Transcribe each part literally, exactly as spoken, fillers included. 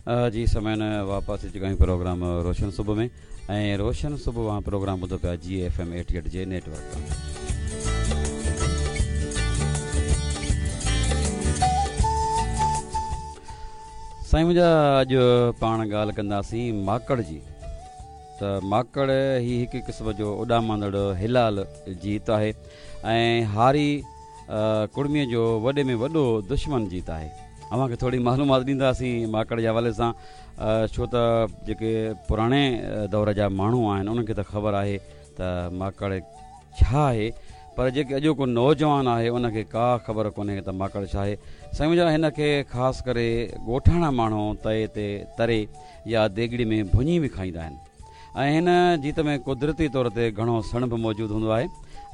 जी समय वापस अची चुका आहियूं प्रोग्राम रोशन सुबह में ऐं रोशन सुबह वहाँ प्रोग्राम ॿुधो पिया जी एफ एम एटी एट जे नेटवर्क तां। साईं मुंहिंजा, अॼु पाण ॻाल्हि कंदासीं माकड़ जी। त माकड़ ही हिकु क़िस्म जो उॾामंदड़ हिलाल जीत आहे ऐं हारी कुड़मीअ जो वॾे में वॾो दुश्मन जीत आहे। अव्हांखे थोरी मालूमात ॾींदासीं माकड़ जे हवाले सां, छो त जेके पुराणे दौर जा माण्हू आहिनि उन्हनि खे त ख़बर आहे त माकड़ छा आहे, पर जेके अॼोको नौजवान आहे उनखे का ख़बर कोन्हे त माकड़ छा आहे। साईं मुंहिंजा, हिन खे ख़ासि करे ॻोठाणा माण्हू तए ते तरे या देगड़ी में भुञी बि खाईंदा आहिनि ऐं हिन जीत में कुदरती तौर ते घणो सणब मौजूदु हूंदो आहे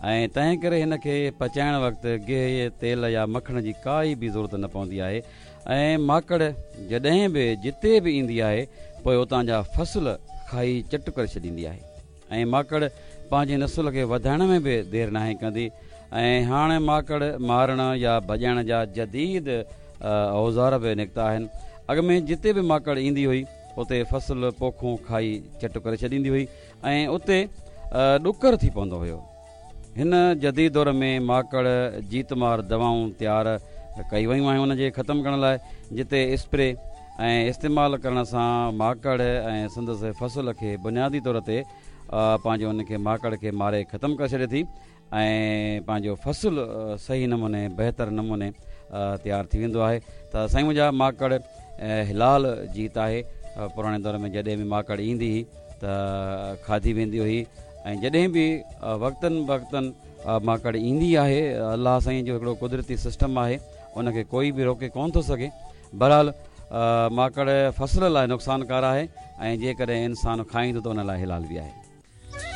ऐं तंहिं करे हिन खे पचाइण वक़्तु गेहु, तेल या मखण जी काई बि ज़रूरत न पवंदी आहे। ऐं माकड़ जॾहिं बि जिते बि ईंदी आहे पोइ उतां जा फ़सल खाई चट करे छॾींदी आहे ऐं माकड़ पंहिंजे नस्ल खे वधाइण में बि देरि नाहे कंदी। ऐं हाणे माकड़ मारण या भॼाइण जा जदीद औज़ार बि निकिता आहिनि। अॻु में जिते बि माकड़ ईंदी हुई उते फ़सल पोखूं खाई चट करे छॾींदी हुई ऐं उते ॾुकर थी पवंदो हुयो। हिन जदीद दौर में माकड़ जीतमार दवाऊं तयारु कई वयूं आहिनि उनजे ख़तमु करण लाइ, जिते स्प्रे ऐं इस्तेमालु करण सां माकड़ ऐं संदसि फ़सल खे बुनियादी तौर ते पंहिंजो उनखे माकड़ खे मारे ख़तमु करे छॾे थी ऐं पंहिंजो फ़सल सही नमूने बहितर नमूने तयारु थी वेंदो आहे। त साईं मुंहिंजा, माकड़ हिलाल जीत आहे। पुराणे दौर में जॾहिं बि माकड़ ईंदी हुई त खाधी वेंदी हुई ऐं जॾहिं बि वक़्तनि वक़्तनि माकड़ ईंदी आहे, अलाह साईं जो हिकिड़ो कुदरती सिस्टम आहे, उनखे कोई बि रोके कोन थो सघे। बहरहाल माकड़ फ़सल लाइ नुक़सानकार आहे ऐं जेकॾहिं इंसानु खाईंदो त उन लाइ हिलाल बि आहे।